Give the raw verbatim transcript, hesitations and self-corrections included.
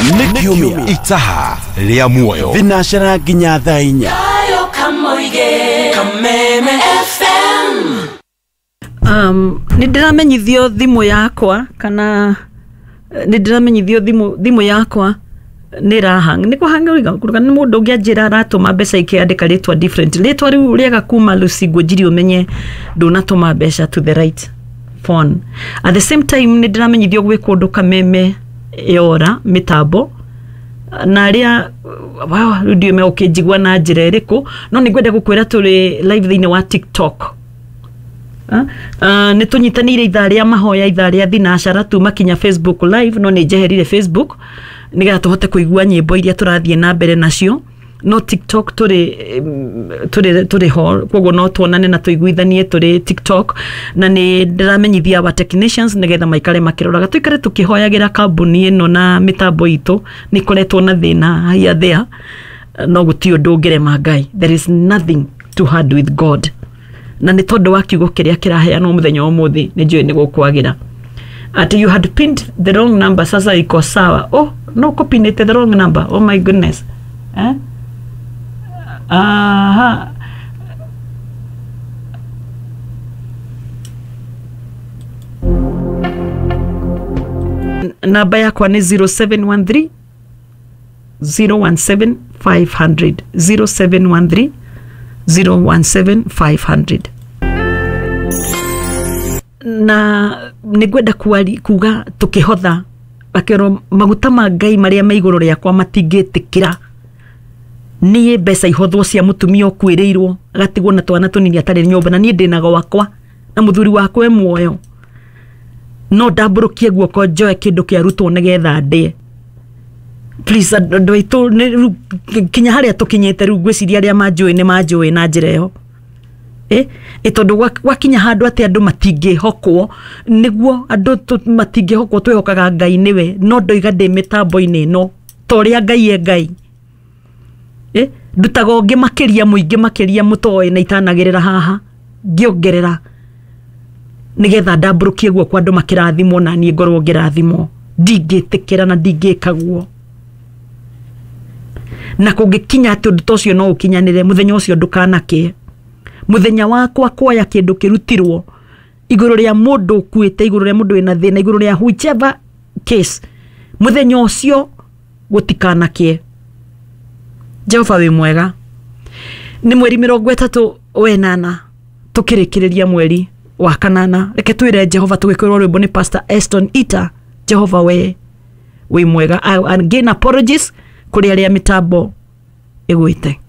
Nĩ kiumia Itaha rĩa muoyo. Thinacara nginya thaa inya. Kameme F M. Um, nĩ ndĩramenyithio thimũ yakwa kana nĩ ndĩramenyithio thimũ thimũ yakwa nĩ ĩrahang nĩ kũhang kana nĩ mũndũ ũngĩ anjĩra aratũma mbeca ikĩandĩka rĩtwa different rĩtwa rĩu rĩaga kuma Lucy Ngũnjiri ũmenye ndũnatũma mbeca to the right phone. At the same time nĩ ndĩramenyithio gwĩ kũndũ Kameme yora mĩtambo na arĩa wow rĩu ndiũĩ megũkĩnjigua na njĩra ĩrĩkũ no nĩ ngwenda gũkwĩra tũrĩ live thĩinĩ wa TikTok. Uh, nĩ tũnyitanĩire ithaa rĩa mahoya ithaa rĩa thinacara tuma kinya Facebook live no nĩ njeherire Facebook nĩgetha tũhote kũigua nyĩmbo iria tũrathiĩ na mbere nacio no TikTok tũrĩ tũrĩ tũrĩ ho koguo no tuonane na tũiguithanie tũrĩ TikTok na nĩ ndĩramenyithia our technicians nĩgetha maikare makĩroraga tũikare tũkĩhoyagĩra kambuni ĩno na mĩtambo itũ nĩ ĩkoretwo na thĩna here there no gũtirĩ ũndũ ũngĩrema Ngai. There is nothing too hard with God. Na nĩ tondũ wa kiugo kĩrĩa kĩraheanwo mũthenya wa ũmũthĩ nĩ njũĩ nĩ gũkwagĩra ati you had pinned the wrong number sasa iko sawa. Oh no, copinete the wrong number. Oh my goodness. Eh? Aha. Namba yakwa nĩ zero seven one three zero one seven five hundred zero seven one three zero one seven five hundred. Na nĩngwenda kuga tũkĩhotha akĩrwo maguta ma Ngai marĩa me igũrũ rĩakwa matingĩtĩkĩra niĩ mbeca ihothwo cia mũtumia ũkuĩrĩirwo agatigwo na twana tũnini atarĩ nyũmba na niĩ ndĩna gwakwa na mũthuri wakwa e muoyo no ndambũrũkie guoko njoe kĩndũ kĩarutwo nĩgetha ndĩe. Please andũ aitũ kinya harĩa tũkinyĩte rĩu ngwĩciria arĩa manjũĩ nĩ manjũĩ na njĩra ĩyo. Eh, tondu gwakinya handũ atĩ andũ matingĩhokwo nĩguo andũ matingĩhokwo twĩhokaga Ngai nĩwe no ndoiga ndĩ mĩtambo-inĩ ĩno ta ũrĩa Ngai e Ngai. Eh, ndutaga ũngĩ makĩria mũingĩ makĩria mũtoĩ na itanagĩrĩra haha ngĩongerera nĩgetha ndambũrũkie guoko andũ makĩrathimwo na niĩ ngorwo ngĩrathimwo. Ndingĩtĩkĩra na ndingĩka guo na kũngĩkinya atĩ ũndũ ta ũcio no ũkinyanĩre mũthenya ũcio ndũkanakĩe muthenya wakwa kuoya kindu kirutirwo iguru ria mundu ukuite iguru ria mundu wina thina iguru ria whichever case muthenya ucio gutikanakie. Jehova wi mwega. Ni mweri mirongo itatu wenana tukirikiriria mweri wa kanana reke twire Jehova tugikwirwo rwimbo ni Pastor Eston Ita. Jehova we wi mwega. Again apologies kuri aria mitambo igwite.